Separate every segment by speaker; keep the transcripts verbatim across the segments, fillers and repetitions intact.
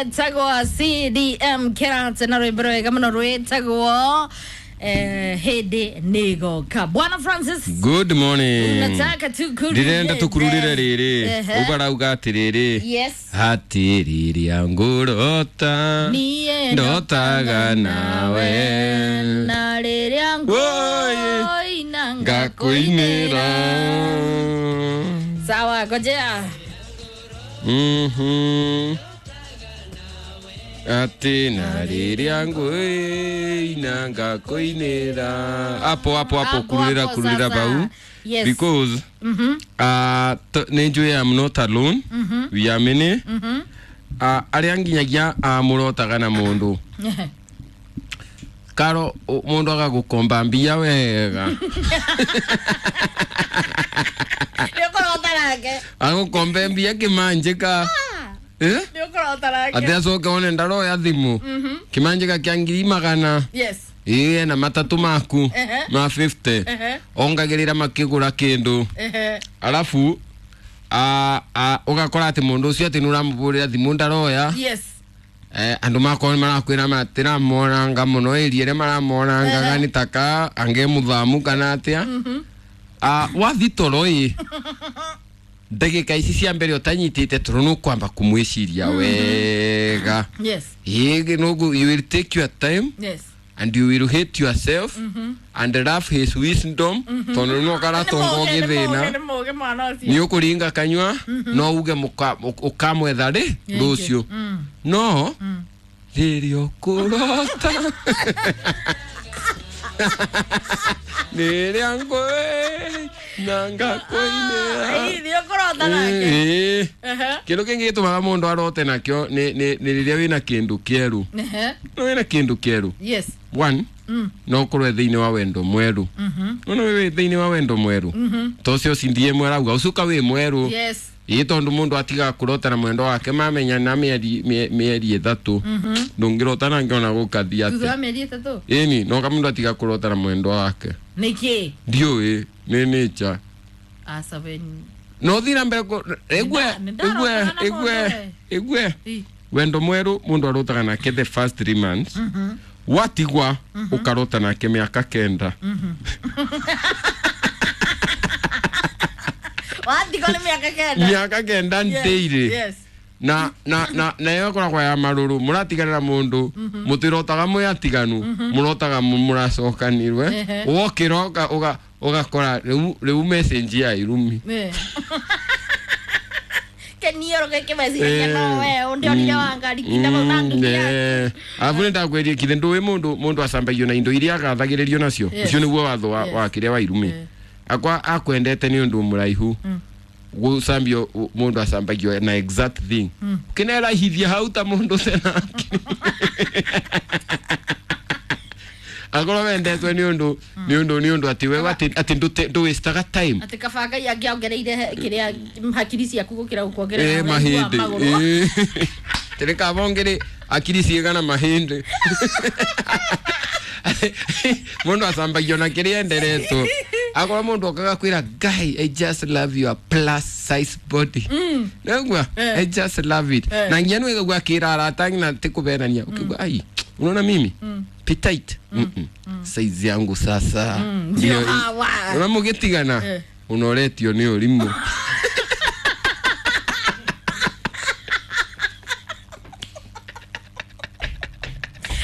Speaker 1: Betagwo C D M Kerate na rwimbo rwega muno rwitagwo eh, Hĩndĩ Nĩgoka. Bwana Francis,
Speaker 2: Good morning.
Speaker 1: Unataka tukururire.
Speaker 2: Ndirenda tukururire riri.
Speaker 1: Ehe.
Speaker 2: Ubarauga atiriri.
Speaker 1: Yes.
Speaker 2: Hatiriri ngurota.
Speaker 1: Niĩ
Speaker 2: Ndotaga nawe.
Speaker 1: Na rĩrĩa
Speaker 2: Woye.
Speaker 1: ngũina
Speaker 2: Ngakuinĩra.
Speaker 1: Sawa, ngojea.
Speaker 2: Mhm. Ati na rĩrĩa ngũina ngakuinĩra. Hapo hapo hapo
Speaker 1: Hapo,
Speaker 2: kururira
Speaker 1: hapo
Speaker 2: kururira
Speaker 1: sasa.
Speaker 2: bau.
Speaker 1: Yes.
Speaker 2: Because
Speaker 1: Mhm.
Speaker 2: uh, nĩ njũĩ I'm not alone.
Speaker 1: Mhm.
Speaker 2: We are many.
Speaker 1: Mhm.
Speaker 2: Uh, arĩa nginyagia uh, mũrotaga na mũndũ karo u- mũndũ agagũkomba mbia wega
Speaker 1: Nĩ ũkũrota nake.
Speaker 2: agũkombe mbia kĩmanjĩka eh?
Speaker 1: Nĩ ũkũrota nake.
Speaker 2: atĩ acoke one ndaroya thimũ kĩmanjĩka kĩa ngiri magana
Speaker 1: Yes.
Speaker 2: ĩĩ na matatũ maku
Speaker 1: Ehe.
Speaker 2: ma fifty
Speaker 1: Ehe.
Speaker 2: ongagĩrĩra makĩgũra kĩndũ
Speaker 1: Ehe.
Speaker 2: arabu a- a- ũgakora atĩ mũndũ ũcio atĩ nĩũramũbũrĩra thimũ ndaroya
Speaker 1: Yes.
Speaker 2: eh, andũ makorwo nĩmarakwĩra matiramonanga mũno ĩria ĩrĩa maramonangaga nĩ taka ange mũthamu kana atĩa Ah, wathi toro ĩ ndagĩka ici cia mbere ũtanyitĩte toro nũkwamba kũmwĩciria wega
Speaker 1: Yes.
Speaker 2: ĩĩ nũgu you will take your time
Speaker 1: Yes.
Speaker 2: and you will hate yourself and love his wisdom tondũ no karatonga ũgĩthĩna
Speaker 1: Nĩ mũũgĩ mwana ũcio.
Speaker 2: nĩ ũkũringa kanyua no uge mũka- ũkamwetha rĩ rũciũ no rĩrĩa ũkũrota rĩrĩa ngũĩ na ngakũinĩra
Speaker 1: Ĩĩ, nĩ ũkũrota nake.
Speaker 2: Ĩĩ.
Speaker 1: Ehe.
Speaker 2: Kĩndũ kĩngĩ gĩtũmaga mũndũ arote nakĩo nĩ nĩ- nĩ rĩrĩa wĩna kĩndũ kĩerũ.
Speaker 1: Ehe.
Speaker 2: No wĩna kĩndũ kĩerũ
Speaker 1: Yes.
Speaker 2: one
Speaker 1: Mm.
Speaker 2: no ũkorwo thĩinĩ wa wendo mwerũ. Nona wĩ thĩinĩ wa wendo mwerũ to ũcio cindie mwerauga ũcuka wĩ mwerũ.
Speaker 1: Yes.
Speaker 2: Ĩĩ tondũ mũndũ atigaga kũrota na mwendo wake mamenyana mĩeri mĩe- mĩeri ĩtatũ ndũngĩrota nake ona gũkathiĩ
Speaker 1: Thutha wa
Speaker 2: atĩa.
Speaker 1: mĩeri ĩtatũ.
Speaker 2: Ĩni no kamũndũ atiga kũrota na mwendo wake.
Speaker 1: Nĩkĩ?
Speaker 2: Ndiũĩ nĩ nature.
Speaker 1: Aca we.
Speaker 2: No thiĩ na mbere kũ- ĩgue
Speaker 1: Nĩ nda-
Speaker 2: ĩgue
Speaker 1: nĩ ndarota na
Speaker 2: ĩgue
Speaker 1: mũndũ
Speaker 2: ĩgue
Speaker 1: Ĩ.
Speaker 2: wendo mwerũ mũndũ arotaga nake the first three months watigwa ũkarota nake mĩaka kenda.
Speaker 1: Watigwo nĩ mĩaka kenda.
Speaker 2: Mĩaka kenda
Speaker 1: Yes,
Speaker 2: ndĩirĩ
Speaker 1: Yes.
Speaker 2: na na na na ĩyo ĩkoragwo ya marũrũ mũratiganĩra mũndũ mũtirotaga mwĩ atiganu mũrotaga mũ- mũracokanirwe
Speaker 1: Ehe.
Speaker 2: wokĩra ũka- ũga- ũgakora rĩu rĩu message ya irumi.
Speaker 1: Eh. Kenioro gĩkĩ meciragia no we ũndĩonire wa ngari kinda vau na nduthi yaku.
Speaker 2: Arabu nĩ ndakwĩrie kithe ndũĩ mũndũ mũndũ acambagio na indo iria agathagĩrĩrio nacio.
Speaker 1: Yes.
Speaker 2: Ũcio nĩguo watho wa
Speaker 1: Yes.
Speaker 2: wa kĩrĩa wa irumi.
Speaker 1: Eh.
Speaker 2: Akwa akwendete nĩ ũndũ mũraihu gũcambio mũndũ acambagio na exact thing ũkĩnerahithia hau ta mũndũ tena akorwo wendetwe nĩ ũndũ nĩ ũndũ nĩ ũndũ atĩ we atĩ atĩ ndũte- ndũwastaga time.
Speaker 1: Atĩ kaba Ngai angĩongereire kĩrĩa hakiri ciaku gũkĩra gũkuongerera
Speaker 2: Eh,
Speaker 1: ũraihu wa
Speaker 2: mahĩndĩ
Speaker 1: magũrũ.
Speaker 2: tĩrĩ kaba ongere akiri ciĩgana mahĩndĩ mũndũ acambagio na kĩrĩa enderetwo akorwo mũndũ okaga kwĩra guy I just love your plus size body nĩgua
Speaker 1: Eh.
Speaker 2: I just love it
Speaker 1: Eh.
Speaker 2: na nginya nĩwĩgagua akĩra arata ngina ti kũbenania ũkĩgua ai unaona mimi petite Mm-mm. Size yangu sasa
Speaker 1: Ndio
Speaker 2: ndio
Speaker 1: hawa.
Speaker 2: ona mũgĩtigana
Speaker 1: Eh.
Speaker 2: ũnoretio nĩ ũrimũ.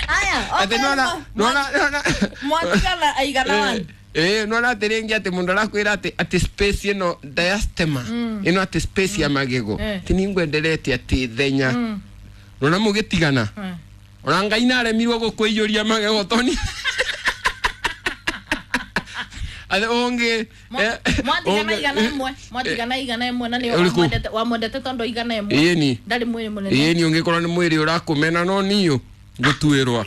Speaker 1: Aya,
Speaker 2: Atĩ nĩwona nĩwona nĩwona
Speaker 1: mwatigana aigana one.
Speaker 2: Eh, nĩwona atĩ rĩngĩ atĩ mũndũ arakwĩra atĩ atĩ space ĩno diastema ĩno atĩ space ya magego
Speaker 1: Eh.
Speaker 2: atĩ nĩngwenderete atĩ thenya nona mũgĩtigana
Speaker 1: Mm.
Speaker 2: ona Ngai nĩaremirwo gũkũiyũria magego toni atĩ ũngĩ eh,
Speaker 1: Mwatigana
Speaker 2: ũngĩ-
Speaker 1: igana ĩmwe mwatigana igana ĩmwe na nĩ
Speaker 2: Ũrĩkũ?
Speaker 1: wamwendete wamwendete tondũ igana ĩmwe
Speaker 2: ĩni
Speaker 1: ndarĩ mwĩrĩ mũnene.
Speaker 2: ĩni ũngĩkorwo nĩ mwĩrĩ ũrakũmena no niũ ngũtuĩrwa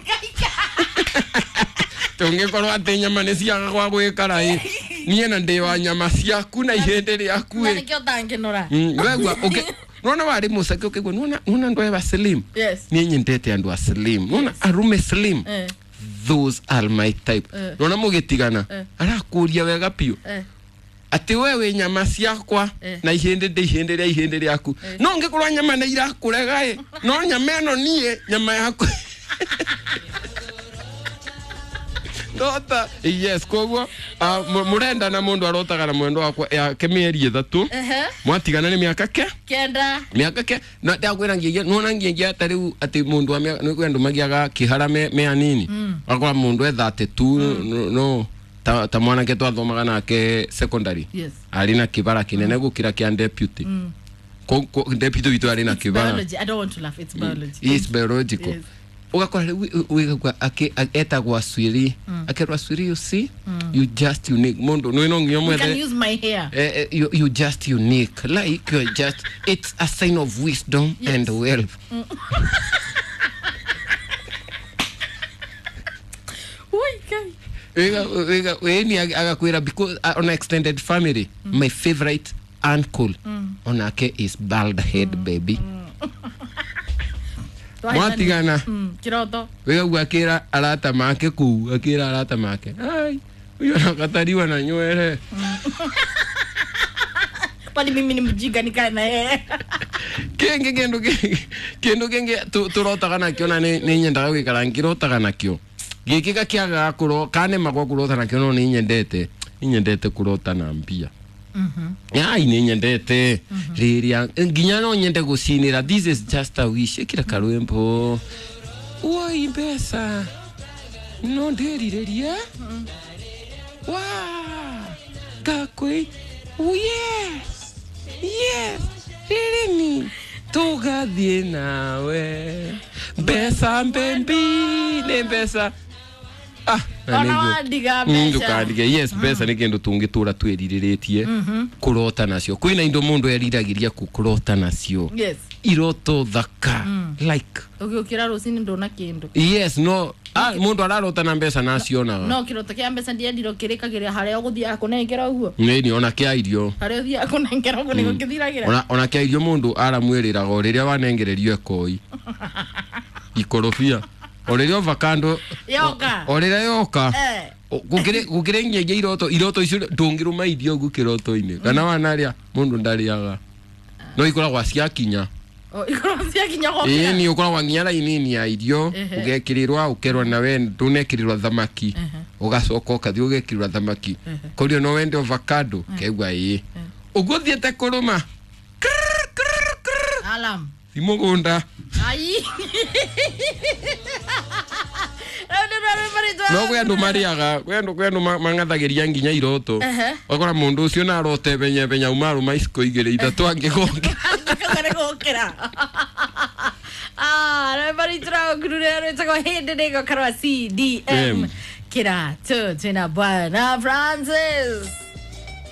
Speaker 2: tũngĩkorwo atĩ nyama nĩ ciaga gwa gwĩkara ĩ niĩ na ndĩ wa nyama ciaku na ihĩndĩ rĩaku
Speaker 1: Na
Speaker 2: ĩ
Speaker 1: nĩkĩo ũtangĩnora.
Speaker 2: Mm, wegua ũkĩ nona warĩ mũceke ũkĩgua nona nona andũ aya slim.
Speaker 1: Yes.
Speaker 2: Niĩ nyendete andũ a slim nona arume slim.
Speaker 1: Eh.
Speaker 2: Those are my type.
Speaker 1: Eh.
Speaker 2: Nona mũgĩtigana
Speaker 1: Eh.
Speaker 2: arakũria wega biũ
Speaker 1: Eh.
Speaker 2: Ati we wĩ nyama ciakwa
Speaker 1: Eh.
Speaker 2: na ihĩndĩ ndĩ ihĩndĩ rĩa ihĩndĩ rĩaku. No ngĩkorwo nyama nĩ irakũrega ĩ, no nyama ĩno niĩ nyama yaku. Ndota yes koguo ah, mu- mũrenda na mũndũ arotaga na mwendo wakwa yake mĩeri ĩthatũ.
Speaker 1: Ehe.
Speaker 2: Mwatigana nĩ mĩaka ke
Speaker 1: Kenda.
Speaker 2: mĩaka ke na ndakwĩra nginya nona nginya ta rĩu atĩ mũndũ wa mĩaka nĩ kwĩ andũ magiaga kĩhara me, me anini wakora mũndũ e thirty two no, no ta, ta mwanake twathomaga nake secondary
Speaker 1: Yes.
Speaker 2: arĩ na kĩbara kĩnene gũkĩra kĩa deputy. Ko- ko- deputy witũ arĩ na
Speaker 1: It's
Speaker 2: kĩbara.
Speaker 1: biology. I don't want to laugh. It's biology.
Speaker 2: It's biological.
Speaker 1: Yes.
Speaker 2: Ugakora rĩu wigagua etagwo Aswiri, akerwo Aswiri, you see, you just unique mũndũ nĩ no nginya
Speaker 1: You can
Speaker 2: mwethe
Speaker 1: use my hair.
Speaker 2: Eh, eh, you, you just unique like you're just it's a sign of wisdom.
Speaker 1: Yes.
Speaker 2: And wealth.
Speaker 1: Ui, kai.
Speaker 2: Wega- wega- weni agakwira because uh, on extended family my favorite uncle onake is bald head baby. Mwatigana.
Speaker 1: Mm, kiroto.
Speaker 2: Wigagua akira arata make kuu akira arata make ai uyo nakatariwa na nywere.
Speaker 1: Kwani mimi ni mjinga nikae na yeye?
Speaker 2: Kingi kindu kingi kindu kingi tu- turotaga nakio na ni ni nyendaga gwikara ngirotaga nakio giki gakiagaga kuro kanemagwo kurota nakio no ni nyendete ni nyendete kurota na mbia. Ai ni nyendete riria nginya no nyende gucinira. This is just a wish. Ikira karwimbo woi mbeca no ndĩrirĩrie wa ngakwĩ oh yes yes rĩrĩni tũgathiĩ nawe mbeca mbembi nĩ mbeca. Ah, na
Speaker 1: Ona
Speaker 2: nĩguo.
Speaker 1: wandiga
Speaker 2: Mm,
Speaker 1: mbeca.
Speaker 2: ndukandige yes mbeca nĩ kĩndũ tũngĩtũra twĩrirĩrĩtie kũrota nacio kwĩna indo mũndũ eriragĩria kũrota nacio.
Speaker 1: Yes.
Speaker 2: Iroto thaka like
Speaker 1: Ugiukira rucini ndona kindu.
Speaker 2: Yes no ah, mũndũ ararota na mbeca nacionaga.
Speaker 1: No kiroto kia mbeca ndiendiro kirikagira haria uguthiaga kunengera uguo.
Speaker 2: Nĩ ona kĩa irio.
Speaker 1: Haria uthiaga kunengera uguo niguo kithiragira.
Speaker 2: Ona ona kĩa irio mũndũ aramwĩrĩraga o rĩrĩa wanengererio ekoi ikorobia o rĩrĩa ovakando
Speaker 1: Yoka.
Speaker 2: o rĩrĩa yoka.
Speaker 1: Eh.
Speaker 2: Gũkĩrĩ gũkĩrĩ nginyagia iroto iroto icio ndũngĩrũma irio ũguo kĩroto-inĩ kana wanarĩa mũndũ ndarĩaga no ikoragwo ciakinya.
Speaker 1: O ikorwo ciakinya
Speaker 2: Ĩĩ
Speaker 1: gokira.
Speaker 2: nĩ ũkoragwo nginya raini-inĩ ya irio
Speaker 1: Ehe.
Speaker 2: ũgekĩrĩrwa ũkerwo nawe ndũnekĩrĩrwa thamaki ũgacoka ũkathiĩ ũgekĩrĩrwa thamaki korio no wende avocado keigua ĩĩ ũguo ũthiĩte kũrũma
Speaker 1: Alarm.
Speaker 2: ti mũgũnda.
Speaker 1: Ai. Rĩu nĩ rwĩmbo rwitũ.
Speaker 2: No kwĩ andũ marĩaga kwĩ andũ kwĩ andũ ma- mang'athagĩria nginya iroto.
Speaker 1: Ehe.
Speaker 2: Ũgakora mũndũ ũcio na arote benya benya auma arũma iciko igĩrĩ ithatũ angĩgonge.
Speaker 1: Kagare gũkĩra. Ah, rwĩmbo rwitũ rwa ngurure rwĩtagwo hĩndĩ nĩgokarwa C D M
Speaker 2: M.
Speaker 1: Kĩratũ twĩna Bwana Francis.